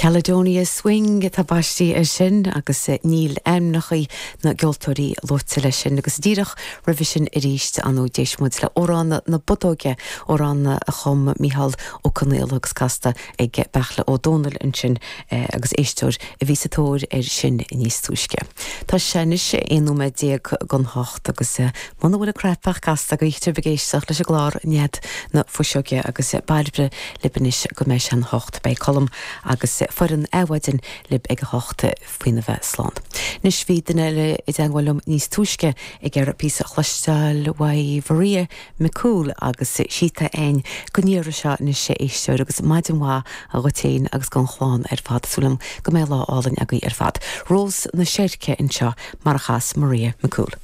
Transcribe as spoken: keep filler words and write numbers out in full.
Caledonia Swing atá baiste air sin agus níl ainmneacha na gceoltóirí luaite leis sin agus díreach roimhe sin arís an d'éist muid le Amhrán na Bodóige amhrán a chum Micheál Ó Conghaile agus casta ag Beartla Ó Domhnaill ansin agus éisteoir a bhí sa tóir air sin níos túisce. Tá sé anois aon nóiméad déag don hocht agus muna bhfuil an cnaipe casta go ag éisteacht leis an gclár Nead na Fuiseoige agus Bairbre libh anois go mbeidh sé an hocht beidh Colm agus foireann Adhmhaidin libh ag a hocht faoina bheith slán. Anois bhí duine eile i dteagmháil liom níos túisce ag iarraidh píosa a chloisteáil uaidh Maria McCool agus sítá ein go ndéarfaidh seo anois éisteoir agus maidin mhaith dhuit féin agus don chlann ar fad súil agam go mbeidh lá álainn agaibh ar fad. Rós na Seirce anseo mar a chas Maria McCool.